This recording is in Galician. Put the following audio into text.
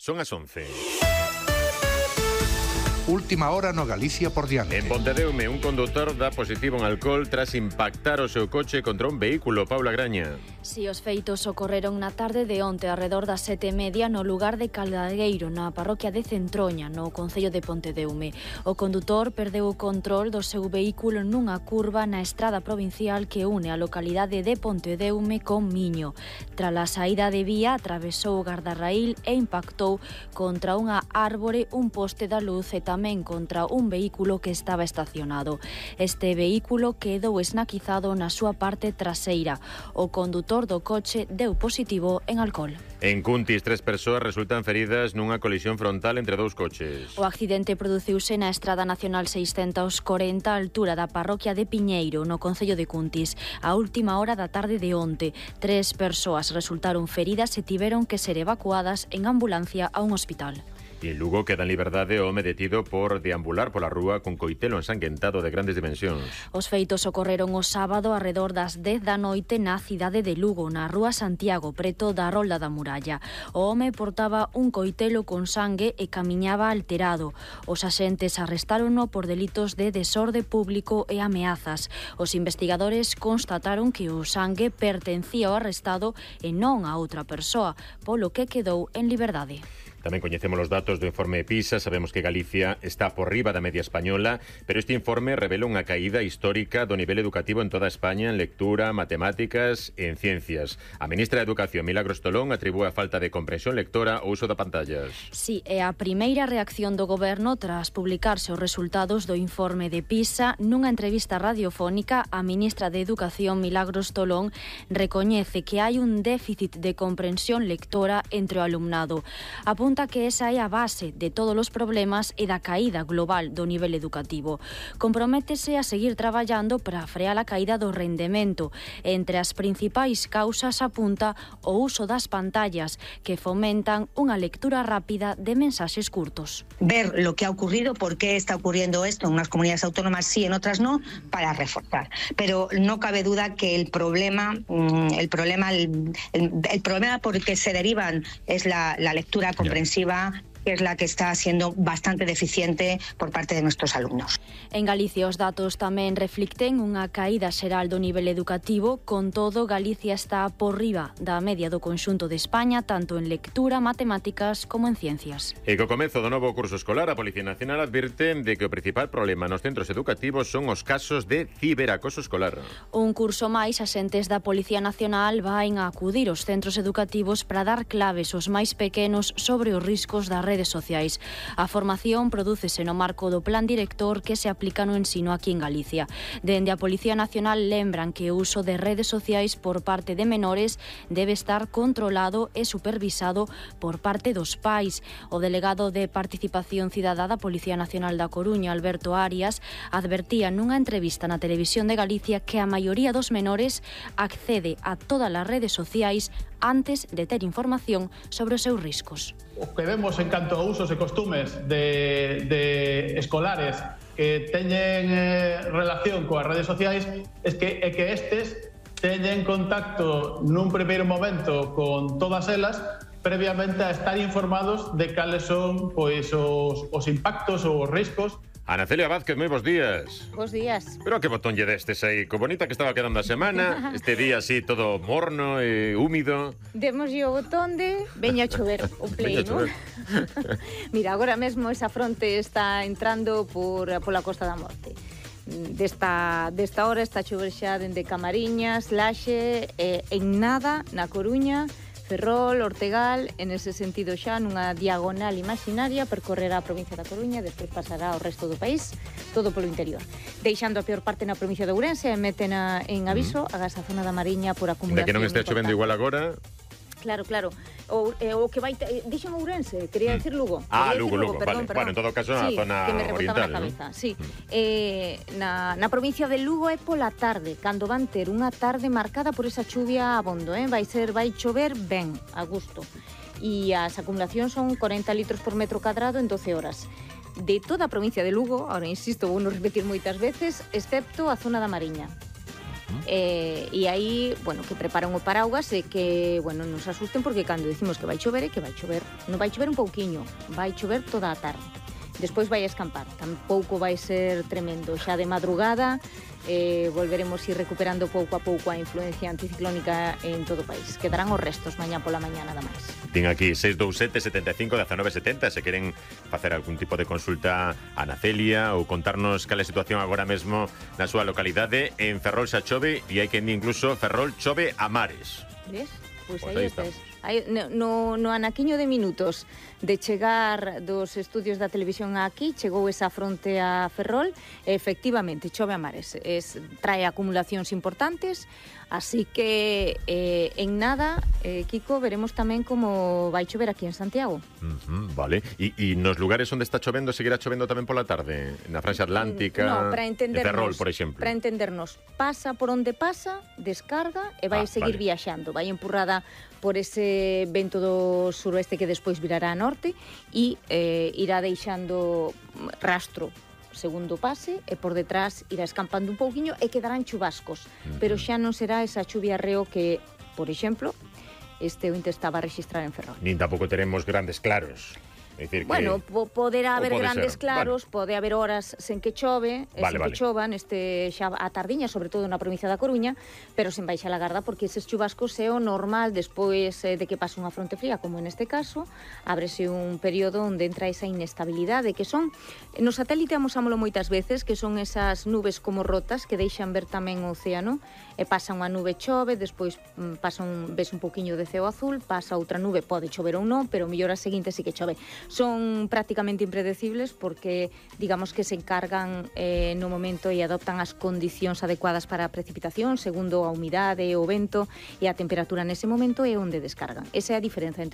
Son as 11. Última hora no Galicia por diante. En Pontedeume, un condutor dá positivo en alcohol tras impactar o seu coche contra un vehículo. Paula Graña. Si, os feitos ocorreron na tarde de onte arredor das 7:30 no lugar de Caldagueiro, na parroquia de Centroña, no concello de Pontedeume. O condutor perdeu o control do seu vehículo nunha curva na estrada provincial que une a localidade de Pontedeume con Miño. Tras a saída de vía, atravesou o gardarraíl e impactou contra unha árbore, un poste da luz e tamén contra un vehículo que estaba estacionado. Este vehículo quedou esnaquizado na súa parte traseira. O condutor do coche deu positivo en alcohol. En Cuntis, 3 persoas resultan feridas nunha colisión frontal entre 2 coches. O accidente produciuse na Estrada Nacional 640 á altura da parroquia de Piñeiro, no concello de Cuntis, a última hora da tarde de onte. 3 persoas resultaron feridas e tiveron que ser evacuadas en ambulancia a un hospital. E en Lugo queda en liberdade o home detido por deambular pola rúa con coitelo ensanguentado de grandes dimensións. Os feitos ocorreron o sábado arredor das 10 da noite na cidade de Lugo, na rúa Santiago, preto da Rolda da Muralla. O home portaba un coitelo con sangue e camiñaba alterado. Os axentes arrestárono por delitos de desorde público e ameazas. Os investigadores constataron que o sangue pertencía ao arrestado e non a outra persoa, polo que quedou en liberdade. Tamén coñecemos os datos do informe PISA. Sabemos que Galicia está por riba da media española, pero este informe revela unha caída histórica do nivel educativo en toda España en lectura, matemáticas e en ciencias. A ministra de Educación, Milagros Tolón, atribúe a falta de comprensión lectora ao uso de pantallas. Si, é a primeira reacción do goberno tras publicarse os resultados do informe de PISA. Nunha entrevista radiofónica, a ministra de Educación, Milagros Tolón, recoñece que hai un déficit de comprensión lectora entre o alumnado. Apunta que esa é a base de todos os problemas e da caída global do nivel educativo. Comprométese a seguir traballando para frear a caída do rendemento. Entre as principais causas apunta o uso das pantallas, que fomentan unha lectura rápida de mensaxes curtos. Ver lo que ha ocurrido, por qué está ocurriendo esto en unas comunidades autónomas sí, en otras no, para reforzar. Pero no cabe duda que el problema por el que se derivan es la lectura comprensiva, que es la que está siendo bastante deficiente por parte de nuestros alumnos. En Galicia os datos tamén reflicten unha caída xeral do nivel educativo. Con todo, Galicia está por riba da media do conxunto de España, tanto en lectura, matemáticas como en ciencias. E co comezo do novo curso escolar, a Policía Nacional advirte de que o principal problema nos centros educativos son os casos de ciberacoso escolar. Un curso máis, axentes da Policía Nacional van a acudir aos centros educativos para dar claves aos máis pequenos sobre os riscos das redes sociais. A formación prodúcese no marco do plan director que se aplica no ensino aquí en Galicia. Dende a Policía Nacional lembran que o uso de redes sociais por parte de menores debe estar controlado e supervisado por parte dos pais. O delegado de Participación Cidadá da Policía Nacional da Coruña, Alberto Arias, advertía nunha entrevista na Televisión de Galicia que a maioría dos menores accede a todas as redes sociais antes de ter información sobre os seus riscos. O que vemos en canto a usos e costumes de escolares que teñen relación coas redes sociais é que estes teñen contacto nun primeiro momento con todas elas previamente a estar informados de cales son pois os impactos ou os riscos. Ana Celia Vázquez, moi bons días. Bos días. Pero que botón lle destes aí, co bonita que estaba quedando a semana, este día así todo morno e húmido. Demoslle o botón de veña a chover o play, non? Mira, agora mesmo esa fronte está entrando pola Costa da Morte. Desta hora está a chover xa dende Camariñas, Laxe, en nada, na Coruña, Ferrol, Ortegal, en ese sentido xa nunha diagonal imaginaria percorrerá a provincia da Coruña, despois pasará ao resto do país, todo polo interior. Deixando a peor parte na provincia de Ourense, meten en aviso a zona da Mariña por acumulación. De que non este chovendo igual agora. Claro. O que vai... Dixen Ourense, quería decir Lugo. Lugo, perdón. Bueno, en todo caso, na zona que me oriental, na cabeza, ¿no? Sí. Na provincia de Lugo é pola tarde, cando van ter unha tarde marcada por esa chuvia abondo, vai chover ben, a gusto. E as acumulacións son 40 litros por metro cadrado en 12 horas. De toda a provincia de Lugo, ahora insisto, vou non repetir moitas veces, excepto a zona da Mariña. E aí, bueno, que preparan o paraugas e que, bueno, non se asusten porque cando decimos que vai chover, non vai chover un pouquiño, vai chover toda a tarde. Despois vai escampar, tampouco vai ser tremendo. Xa de madrugada volveremos ir recuperando pouco a pouco a influencia anticiclónica en todo o país. Quedarán os restos mañá pola mañá nada máis. Ten aquí 627 75 19 70 se queren facer algún tipo de consulta a Ana Celia ou contarnos cal é a situación agora mesmo na súa localidade. En Ferrol xa chove e hai que incluso Ferrol chove a mares. Ves? Pois Pues aí estes. No anaquiño de minutos de chegar dos estudios da televisión aquí, chegou esa fronte a Ferrol, e efectivamente chove a mares, trae acumulacións importantes, así que en nada, Kiko, veremos tamén como vai chover aquí en Santiago. Vale, e nos lugares onde está chovendo, seguirá chovendo tamén pola tarde? Na Franxa Atlántica, no, para entendernos, Ferrol, por exemplo? Para entendernos, pasa por onde pasa, descarga e vai seguir viaxando, vai empurrada por ese vento do suroeste que despois virará a norte e irá deixando rastro segundo pase e por detrás irá escampando un pouquiño e quedarán chubascos, pero xa non será esa chuvia reo que, por exemplo, este ointe estaba a registrar en Ferrol. Nin tampouco teremos grandes claros. Decir bueno, que... poderá haber pode grandes ser. claros, pode haber horas sen que chove, que chova xa a tardiña, sobre todo na provincia da Coruña, pero sen baixa la garda, porque eses chubascos é o normal despois de que pase unha fronte fría, como neste caso, ábrese un período onde entra esa inestabilidade, que son, no satélite amosámolo moitas veces, que son esas nubes como rotas que deixan ver tamén o océano, e pasa unha nube chove, despois ves un poquinho de ceo azul, pasa outra nube, pode chover ou non, pero mellor a seguinte sí que chove. Son prácticamente impredecibles porque, digamos que se encargan no momento e adoptan as condicións adecuadas para a precipitación, segundo a humidade, o vento e a temperatura nese momento é onde descargan. Esa é a diferenza entre